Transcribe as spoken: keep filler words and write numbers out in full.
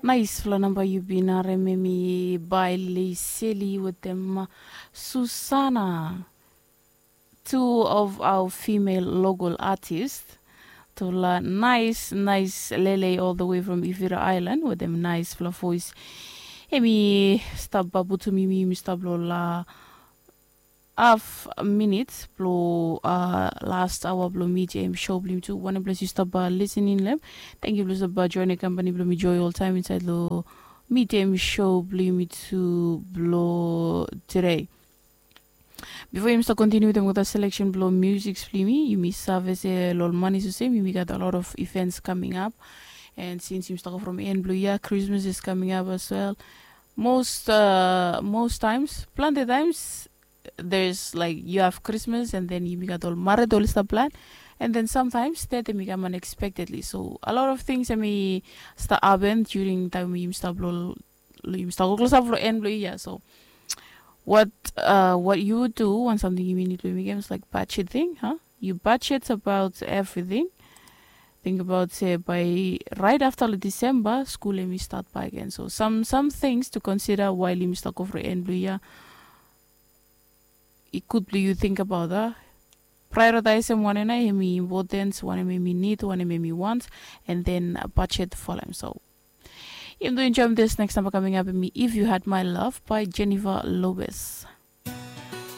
Naispela namba yu bin harim em i bai Leiseli wetem Susana, two of our female local artist. Tufala nais nais lele all the way from Ivira Island wetem naispela voice. Em i stap babutum yumi, yumi stap lo la haf minit blo uh, last awa blo mi jam show blo mi tu. Wanem ples yu stap uh, listening lem. Thank you blo stap uh, join company blo mi joy all time inside lo mi jam show blo mi tu blo today. Before yumi start continue with the selection blo music blo mi, yumi save se lo money so same yumi got a lot of events coming up. And since yumi start from end blo year, Christmas is coming up as well. Most uh, most times, plenty times, there's like you have Christmas and then yumi gat ol marit oli stap plan. And then sometimes that yumi kam unexpectedly, so a lot of things yumi start happen during time yumi start blo yumi start go close up lo end blo year. So what uh, what you would do, one something yumi need to make is like budget thing, huh? You budget about everything. Think about se by right after the December school yumi start by again. So some some things to consider while yumi start go for end blo year. I good blo you think about that. Prioritize em one and I him important, one him him need, one him him want, and then budget for them. So you do enjoy this next number coming up me, If You Had My Love by Jennifer Lopez.